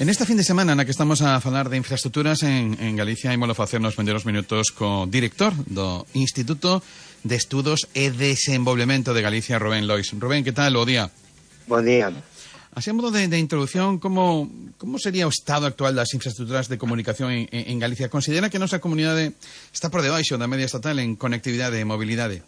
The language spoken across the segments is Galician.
En esta fin de semana na que estamos a falar de infraestructuras en Galicia, ímolo facer nos vendeiros minutos co director do Instituto de Estudos e Desenvolvemento de Galicia, Rubén Lois. Rubén, que tal? Bo día. Bo día. Así, a modo de introducción, como sería o estado actual das infraestructuras de comunicación en Galicia? Considera que a nosa comunidade está por debaixo da media estatal en conectividade e mobilidade?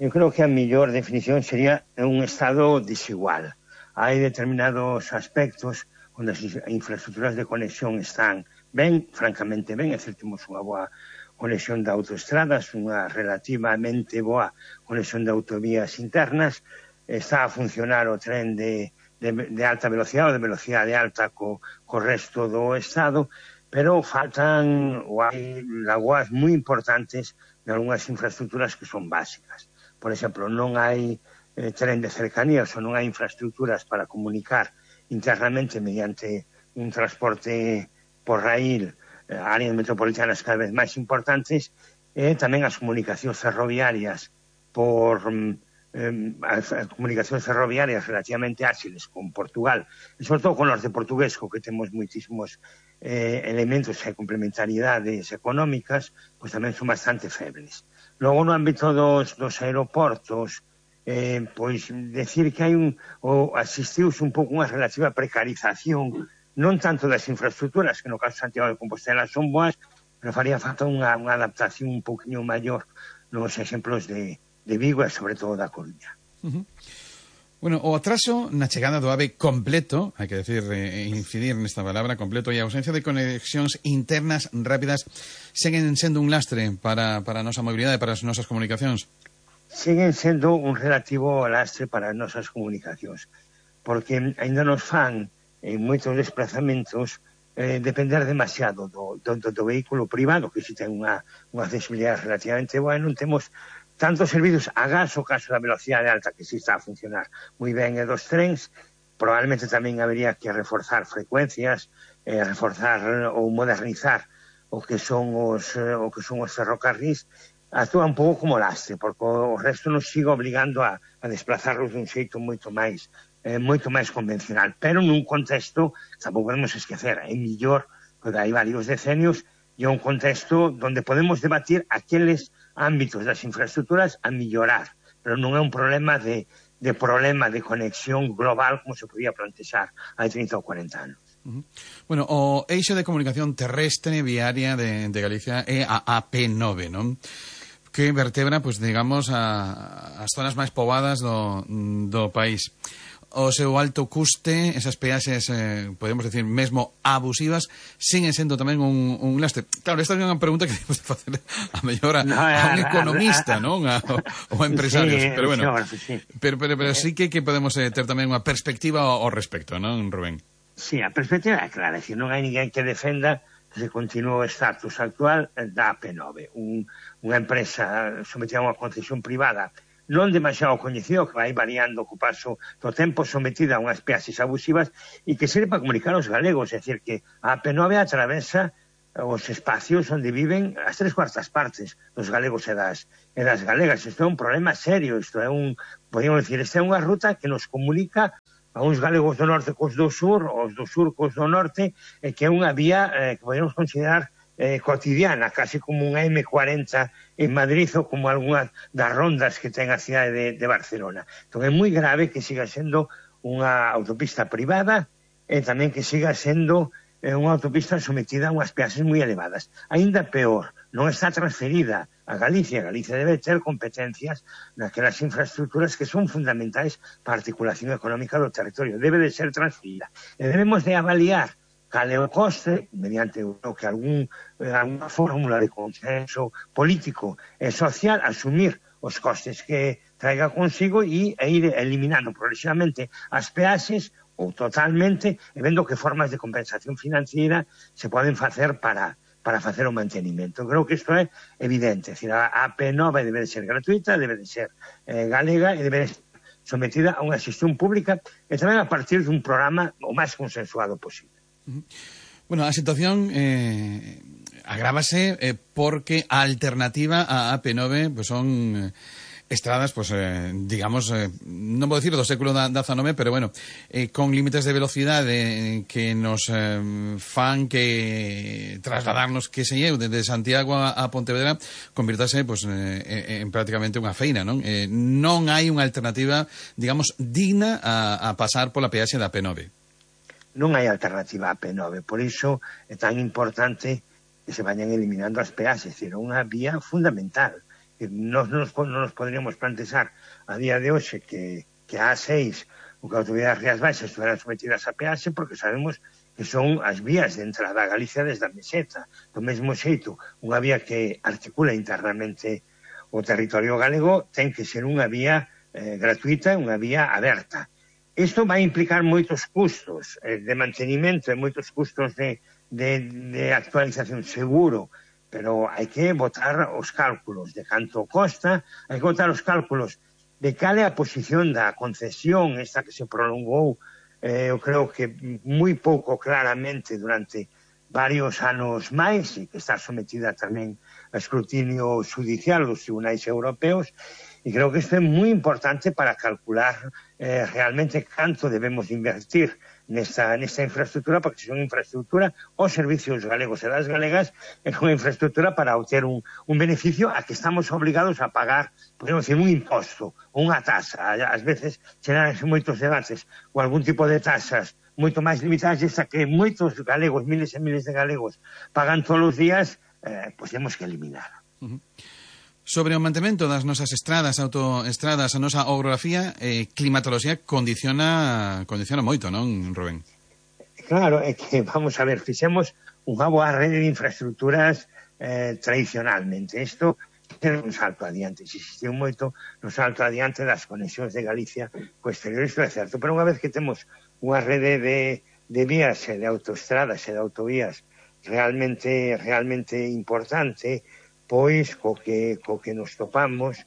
Eu creo que a mellor definición sería un estado desigual. Hai determinados aspectos onde as infraestructuras de conexión están ben, francamente ben, é dicir, temos unha boa conexión de autoestradas, unha relativamente boa conexión de autovías internas, está a funcionar o tren de alta velocidade ou de velocidade alta co resto do Estado, pero faltan ou hai lagoas moi importantes de algunhas infraestructuras que son básicas. Por exemplo, non hai tren de cercanías ou non hai infraestructuras para comunicar internamente mediante un transporte por raíl, áreas metropolitanas cada vez máis importantes, e tamén as comunicacións ferroviarias as comunicacións ferroviarias relativamente áxiles con Portugal, e sobre todo con os de portugués, co que temos moitísimos elementos e complementariedades económicas, pois tamén son bastante febles. Logo, no ámbito dos aeroportos, pois decir que hai asistiuse un pouco unha relativa precarización, non tanto das infraestructuras, que no caso de Santiago de Compostela son boas, pero faría falta unha adaptación un pouquinho maior nos exemplos de Vigo e sobre todo da Coruña. Bueno, o atraso na chegada do AVE completo, hai que decir, incidir nesta palabra, completo, e a ausencia de conexións internas rápidas seguen sendo un lastre para a nosa mobilidade, para as nosas comunicacións? Siguen sendo un relativo lastre para as nosas comunicacións, porque ainda nos fan en moitos desplazamentos depender demasiado do vehículo privado, que si ten unha accesibilidade relativamente boa, e non temos tantos servizos a gas, o caso da velocidade alta, que si está a funcionar moi ben, e dos trens. Probablemente tamén habería que reforzar frecuencias, reforzar ou modernizar o que son os ferrocarrís. Actúa un pouco como lastre, porque o resto nos sigue obligando a desplazarlos dun xeito moito máis convencional, pero nun contexto, tampouco podemos esquecer, é millor, porque hai varios decenios, e é un contexto onde podemos debatir aqueles ámbitos das infraestructuras a mellorar, pero non é un problema de conexión global como se podía plantexar hai 30 ou 40 anos. Bueno, o eixo de comunicación terrestre viaria de Galicia é a AP9, non? Que vertebra, pues, digamos, as zonas máis poboadas do país. O seu alto custe, esas peaxes, podemos decir, mesmo abusivas, siguen sendo tamén un lastre. Claro, esta é unha pregunta que temos de facer a mellor a un economista, non? Ou a empresarios. Sí, pero bueno, sí. Pero sí que podemos ter tamén unha perspectiva ao respecto, non, Rubén? Sí, a perspectiva é clara, que non hai ninguén que defenda que se continúe o estatus actual da AP9, unha empresa sometida a unha concesión privada non demasiado coñecido, que vai variando co paso do tempo, sometida a unhas peaxes abusivas e que serve para comunicar aos galegos, é dicir, que a AP9 atravesa os espacios onde viven as 3/4 partes dos galegos e das galegas. Isto é un problema serio, podemos decir, esta é unha ruta que nos comunica a uns galegos do norte cos do sur, os do sur cos do norte, e que é unha vía que podemos considerar cotidiana, casi como un M40 en Madrid ou como algunhas das rondas que ten a cidade de Barcelona. Entón é moi grave que siga sendo unha autopista privada e tamén que siga sendo unha autopista sometida a unhas peaxes moi elevadas. Ainda peor, non está transferida a Galicia. Galicia debe ter competencias naquelas infraestructuras que son fundamentais para a articulación económica do territorio. Debe de ser transferida. E debemos de avaliar cal é o coste, mediante alguna fórmula de consenso político e social, asumir os costes que traiga consigo e ir eliminando progresivamente as peaxes ou totalmente, e vendo que formas de compensación financiera se poden facer para facer o mantenimento. Creo que isto é evidente. É dicir, a AP9 debe de ser gratuita, debe de ser galega e debe de ser sometida a unha xestión pública e tamén a partir dun programa o máis consensuado posible. Bueno, a situación agrávase porque a alternativa a AP9 pues son estradas, pues, digamos, non vou dicir do século XIX, pero bueno, con límites de velocidade que nos fan que trasladarnos, que se eu, desde Santiago a Pontevedra, convirtase, pues, en prácticamente unha feina, non? Non hai unha alternativa, digamos, digna a pasar pola peaxe da P9. Non hai alternativa a P9, por iso é tan importante que se vayan eliminando as peaxes, é dicir, unha vía fundamental. Non nos poderíamos plantexar a día de hoxe que a A6 ou que a Autoridade das Rías Baixas estuveran sometidas a peaxe, porque sabemos que son as vías de entrada a Galicia desde a meseta. Do mesmo xeito, unha vía que articula internamente o territorio galego ten que ser unha vía gratuita, unha vía aberta. Isto vai implicar moitos custos de mantenimento e moitos custos de actualización, seguro, pero hai que botar os cálculos de canto costa, hai que botar os cálculos de cal é a posición da concesión, esta que se prolongou, eu creo que moi pouco claramente durante varios anos máis, e que está sometida tamén a escrutinio judicial dos tribunais europeos, e creo que isto é moi importante para calcular realmente canto debemos invertir nesta infraestructura, porque se unha infraestructura os servicios galegos e das galegas é unha infraestructura para obter un beneficio a que estamos obligados a pagar, podemos decir, un imposto, unha tasa. Ás veces xeranse moitos debates ou algún tipo de tasas moito máis limitadas, esa que moitos galegos, miles e miles de galegos, pagan todos os días, pois temos que eliminar. Sobre o mantemento das nosas estradas, autoestradas, a nosa orografía, climatoloxía condiciona moito, non, Rubén? Claro, é que, vamos a ver, fixemos unha boa rede de infraestructuras tradicionalmente. Isto é un salto adiante. Existiu moito un salto adiante das conexións de Galicia co exterior, isto é certo. Pero unha vez que temos unha rede de vías e de autoestradas e de autovías realmente importante, pois co que nos topamos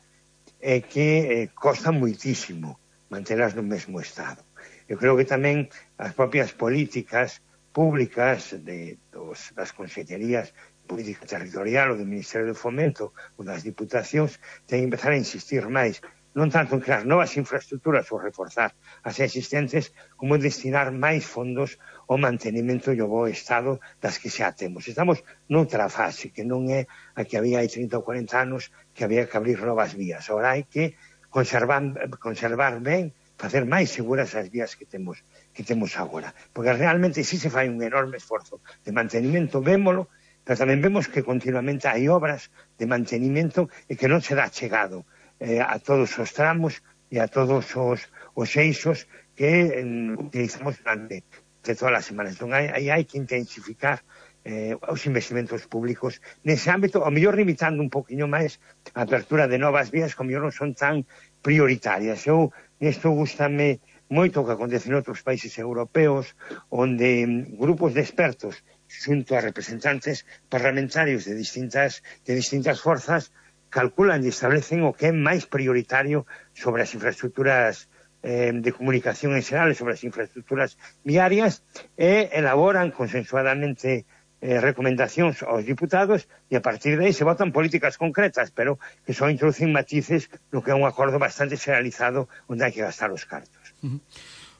é que costa moitísimo mantelas no mesmo estado. Eu creo que tamén as propias políticas públicas das consellerías de política territorial ou do Ministerio de Fomento ou das diputacións ten que empezar a insistir máis, non tanto en crear novas infraestructuras ou reforzar as existentes, como destinar máis fondos ao mantenimento e ao bo estado das que xa temos. Estamos noutra fase, que non é a que había hai 30 ou 40 anos, que había que abrir novas vías. Agora hai que conservar ben, facer máis seguras as vías que temos agora. Porque realmente si se fai un enorme esforzo de mantenimento, vémolo, pero tamén vemos que continuamente hai obras de mantenimento e que non se dá chegado a todos os tramos e a todos os eixos que utilizamos durante todas as semanas. Entón, hai que intensificar os investimentos públicos nese ámbito, ao mellor limitando un poquinho máis a apertura de novas vías que ao mellor non son tan prioritarias. Isto gustame moito o que acontece en outros países europeos, onde grupos de expertos xunto a representantes parlamentarios de distintas forzas calculan e establecen o que é máis prioritario sobre as infraestructuras de comunicación en xeral, sobre as infraestructuras viarias, e elaboran consensuadamente recomendacións aos diputados, e a partir de aí se votan políticas concretas, pero que só introducen matices no que é un acordo bastante generalizado onde hai que gastar os cartos.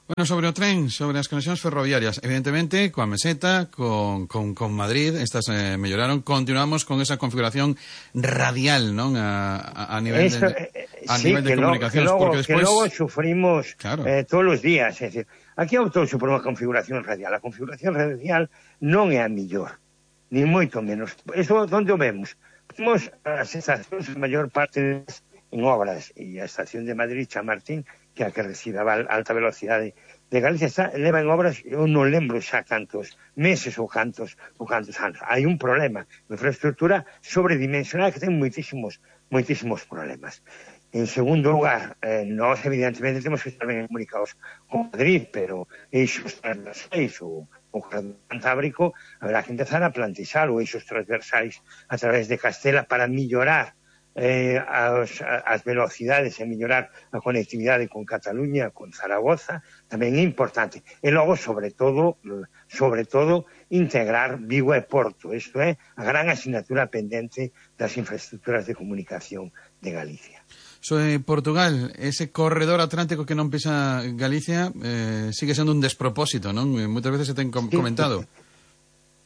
Bueno, sobre o tren, sobre as conexións ferroviarias, evidentemente, coa meseta, con Madrid, estas melloraron, continuamos con esa configuración radial, non? A nivel de comunicacións, porque despois... Que logo sufrimos todos os días, é dicir, aquí optouse por unha configuración radial. A configuración radial non é a mellor, ni moito menos. Eso, onde o vemos? Vemos as estacións, a maior parte en obras, e a estación de Madrid, Chamartín, que a que recibe a alta velocidade de Galicia, leva en obras, eu non lembro xa cantos meses ou cantos anos. Hai un problema, unha infraestructura sobredimensionada que ten moitísimos problemas. En segundo lugar, nós evidentemente temos que estar ben comunicados con Madrid, pero eixos transversais ou Cantábrico haberá que empezar a plantexar ou eixos transversais a través de Castela para mellorar as velocidades e mellorar a conectividade con Cataluña, con Zaragoza, tamén é importante. E logo, sobre todo, integrar Vigo e Porto. Isto é a gran asignatura pendente das infraestructuras de comunicación de Galicia. Sobre Portugal, ese corredor atlántico que non pisa Galicia sigue sendo un despropósito, non? Moitas veces se ten comentado.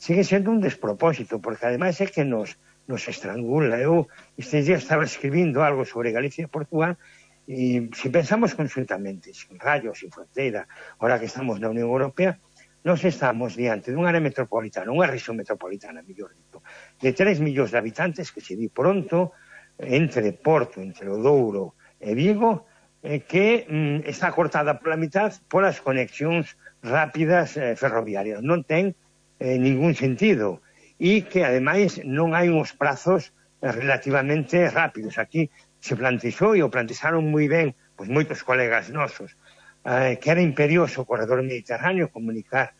Sigue sendo un despropósito, porque ademais é que nos estrangula. Eu estes días estaba escribindo algo sobre Galicia e Portugal, e se pensamos conjuntamente, sin rayos, sin fronteira, ahora que estamos na Unión Europea, nos estamos diante dunha área metropolitana, unha rexión metropolitana, mellor dito, de 3 millóns de habitantes, que se di pronto, entre Porto, entre o Douro e Vigo, que está cortada pola mitad polas conexións rápidas ferroviarias. Non ten ningún sentido. E que, ademais, non hai uns prazos relativamente rápidos. Aquí se plantexou, e o plantexaron moi ben, pois moitos colegas nosos, que era imperioso o corredor mediterráneo, comunicar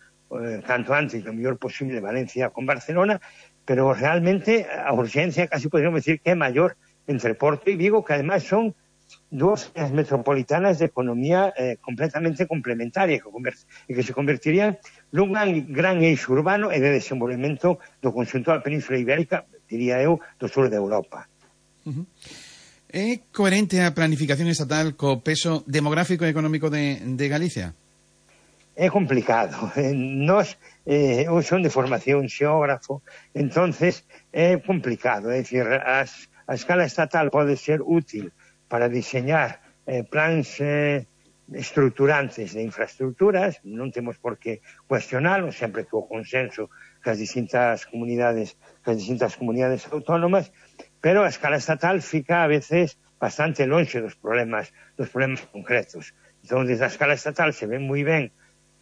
canto antes, o mellor posible, Valencia con Barcelona, pero realmente a urgencia casi podríamos decir que é maior entre Porto e Vigo, que ademais son dúas metropolitanas de economía completamente complementaria e que se convertirían nun gran eixo urbano e de desenvolvemento do conxunto da Península Ibérica, diría eu, do sur de Europa. É coherente a planificación estatal co peso demográfico e económico de Galicia? É complicado. Eu son de formación xeógrafo, entonces é complicado. É dicir, a escala estatal pode ser útil para diseñar plans estruturantes de infraestructuras, non temos por que cuestionalo, sempre que o consenso que as distintas comunidades autónomas, pero a escala estatal fica a veces bastante lonxe dos problemas concretos. Entón, desde a escala estatal se ve moi ben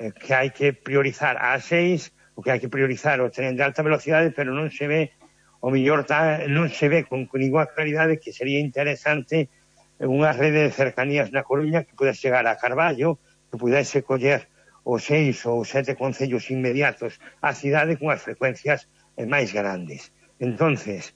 que hai que priorizar a A6, o que hai que priorizar o tren de alta velocidade, pero non se ve, o mellor non se ve con ninguna claridade que sería interesante unha rede de cercanías na Coruña que pudese chegar a Carballo, que pudese coller os 6 ou 7 concellos inmediatos á cidade con as frecuencias máis grandes. Entonces,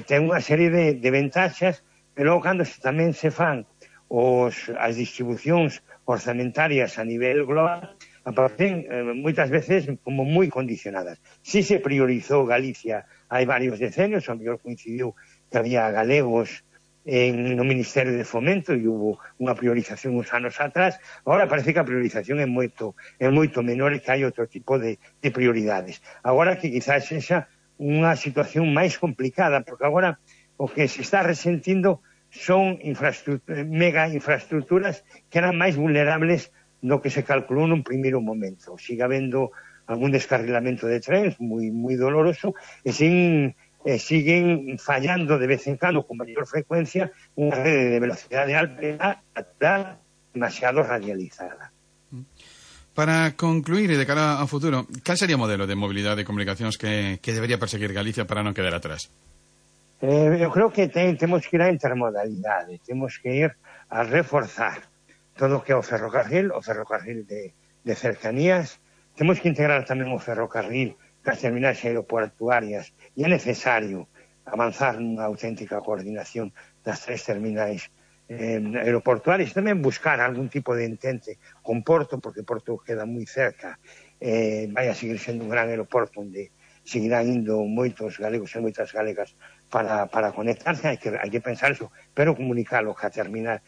ten unha serie de ventaxas, pero cando tamén se fan as distribucións orzamentarias a nivel global, aparecen moitas veces como moi condicionadas. Si se priorizou Galicia hai varios decenios, ao mellor coincidiu que había galegos no Ministerio de Fomento e hubo unha priorización uns anos atrás. Agora parece que a priorización é moito menor e que hai outro tipo de prioridades. Agora que quizás sexa unha situación máis complicada, porque agora o que se está resentindo son mega infraestructuras que eran máis vulnerables do que se calculou nun primeiro momento. Siga habendo algún descarrilamento de trens moi doloroso e siguen fallando de vez en cando con maior frecuencia unha rede de velocidade alta demasiado radializada. Para concluir e de cara ao futuro, cal sería o modelo de mobilidade e comunicacións que debería perseguir Galicia para non quedar atrás? Eu creo que temos que ir á intermodalidade, temos que ir a reforzar todo o que é o ferrocarril de cercanías. Temos que integrar tamén o ferrocarril cas terminais aeroportuarias e é necesario avanzar nunha auténtica coordinación das 3 terminais aeroportuarias e tamén buscar algún tipo de entente con Porto, porque Porto queda moi cerca, vai a seguir sendo un gran aeroporto onde seguirán indo moitos galegos e moitas galegas para conectarse. Hai que pensar eso, pero comunicalo ca terminal,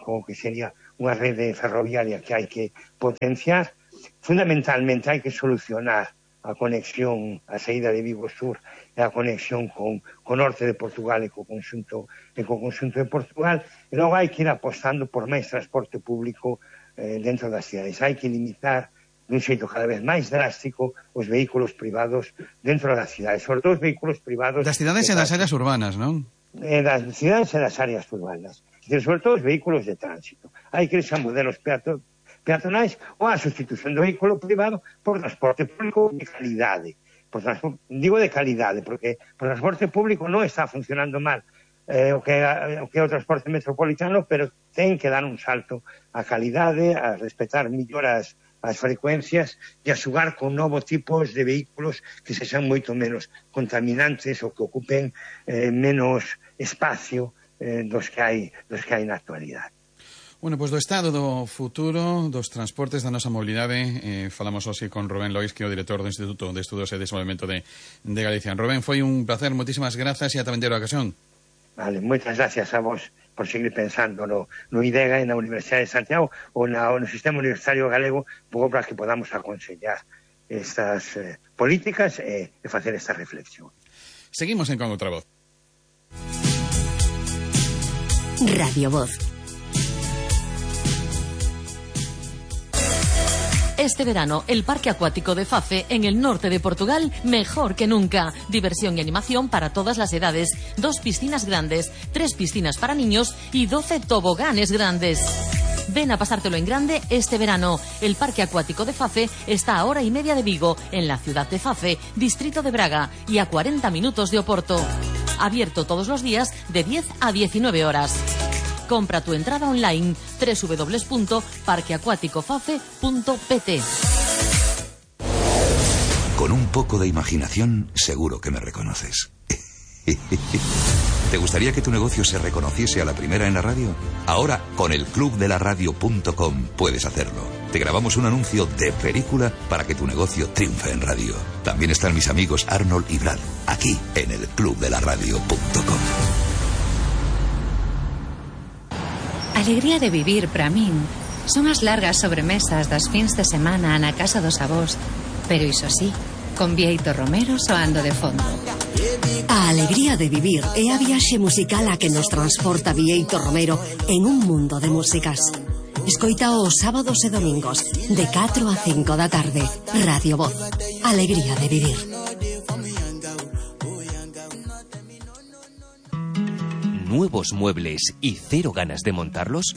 como que sería unha rede ferroviaria que hai que potenciar. Fundamentalmente hai que solucionar a conexión, a saída de Vigo Sur e a conexión con norte de Portugal e co conxunto de Portugal, e logo hai que ir apostando por máis transporte público dentro das cidades. Hai que limitar dun xeito cada vez máis drástico os vehículos privados dentro das cidades, sobre todo os vehículos privados das cidades e das áreas urbanas, non? Das cidades e das áreas urbanas, sobre todo os vehículos de tránsito. Hai que ir a modelos peatonais ou a sustitución do vehículo privado por transporte público de calidade. Digo de calidade, porque o transporte público non está funcionando mal o que é o transporte metropolitano, pero ten que dar un salto á calidade, a respetar mellor as frecuencias e a xugar con novos tipos de vehículos que sexan moito menos contaminantes ou que ocupen menos espacio dos que hai na actualidade. Bueno, pois do estado do futuro dos transportes da nosa mobilidade falamos hoxe con Rubén Lois, que é o director do Instituto de Estudos e Desenvolvemento de Galicia. Rubén, foi un placer, moitísimas grazas e ata vendera ocasión. Vale, moitas gracias a vos por seguir pensando no IDEGA e na Universidade de Santiago ou no Sistema Universitario Galego, pouco para que podamos aconsellar estas políticas e facer esta reflexión. Seguimos en Con Outra Voz. Radio Voz. Este verano, el Parque Acuático de Fafe, en el norte de Portugal, mejor que nunca. Diversión y animación para todas las edades. 2 piscinas grandes, 3 piscinas para niños y 12 toboganes grandes. Ven a pasártelo en grande este verano. El Parque Acuático de Fafe está a 1:30 de Vigo, en la ciudad de Fafe, distrito de Braga, y a 40 minutos de Oporto. Abierto todos los días de 10 a 19 horas. Compra tu entrada online www.parqueacuaticofafe.pt. Con un poco de imaginación, seguro que me reconoces. ¿Te gustaría que tu negocio se reconociese a la primera en la radio? Ahora, con el clubdelaradio.com puedes hacerlo. Te grabamos un anuncio de película para que tu negocio triunfe en radio. También están mis amigos Arnold y Brad, aquí en el clubdelaradio.com. Alegría de vivir para min son as largas sobremesas das fins de semana na casa dos avós, pero iso sí, con Bieito Romero soando de fondo. A alegría de vivir é a viaxe musical a que nos transporta Bieito Romero en un mundo de músicas. Escoita os sábados e domingos de 4 a 5 da tarde. Radio Voz. Alegría de vivir. ¿Nuevos muebles y cero ganas de montarlos?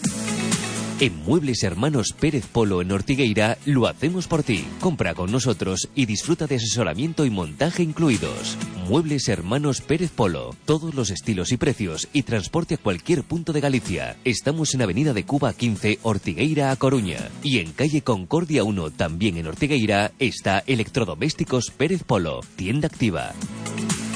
En Muebles Hermanos Pérez Polo en Ortigueira lo hacemos por ti. Compra con nosotros y disfruta de asesoramiento y montaje incluidos. Muebles Hermanos Pérez Polo. Todos los estilos y precios y transporte a cualquier punto de Galicia. Estamos en Avenida de Cuba 15, Ortigueira a Coruña. Y en calle Concordia 1, también en Ortigueira, está Electrodomésticos Pérez Polo. Tienda activa.